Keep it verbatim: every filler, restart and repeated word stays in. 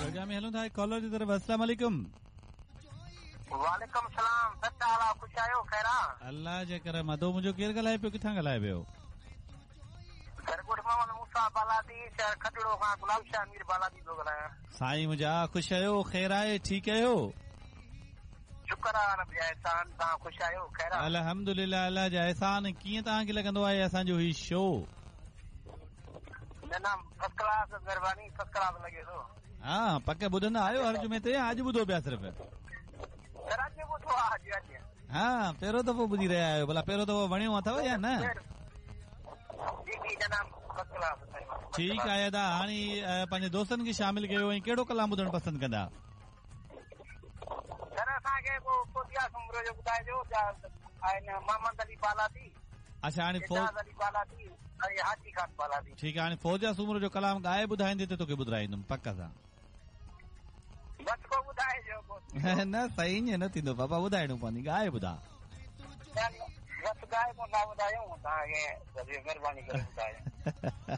Programme में हलूं था कॉलर जी तरफ़। अस्सलाम वालेकुम। वालेकुम सलाम। सच हाल ख़ुशि आहियो? ख़ैर आहे? अल्लाह जे करम। अदो मुंहिंजो केरु ॻाल्हाए पियो, किथां ॻाल्हाए पियो? सरगुड़ मोहम्मद मूसा बालादी, शहर खटड़ो खां गुलाब शाह मीर बालादी थो ॻाल्हायां। साईं मुंहिंजा, ख़ुशि आहियो? ख़ैर आहे? ठीकु आहियो? शुक्र आहे रब जा एहसान। तव्हां ख़ुशि आहियो? ख़ैर आहे? अल्हम्दुलिल्लाह, अल्लाह जा एहसान। कीअं तव्हांखे लॻंदो आहे असांजो ही शो? न न, फर्स्ट क्लास, महिरबानी, फर्स्ट क्लास लॻे थो। हा, पक ॿुधंदा आहियो हर जुमे ते या अॼु ॿुधो पिया सिर्फ़? सर अॼु ॿुधो आहे, अॼु अॼु। हा, पहिरियों दफ़ो ॿुधी रहिया आहियो। भला पहिरियों दफ़ो वणियो अथव या न? जी जी जनाब, फर्स्ट क्लास। ठीकु आहे अदा, हाणे पंहिंजे दोस्तनि खे शामिल कयो ऐं कहिड़ो कलाम ॿुधणु पसंदि कंदा? सर असांखे पोइ फौजिया सुमरो जो ॿुधाइजो, आहिनि मोहम्मद अली बालादी। अच्छा, हाणे एजाज़ अली बालादी ऐं हाजी खान बालादी। ठीकु आहे, हाणे फौजिया सुमरो जो कलाम ॻाए ॿुधाईंदे त तोखे ॿुधाईंदुमि पक सां। बसि पोइ ॿुधाइजो। न सही ईअं न थींदो बाबा, ॿुधाइणो पवंदी। ॻाए ॿुधा। बसि ॻाए पोइ था ॿुधायूं तव्हांखे, महिरबानी करे ॿुधायो।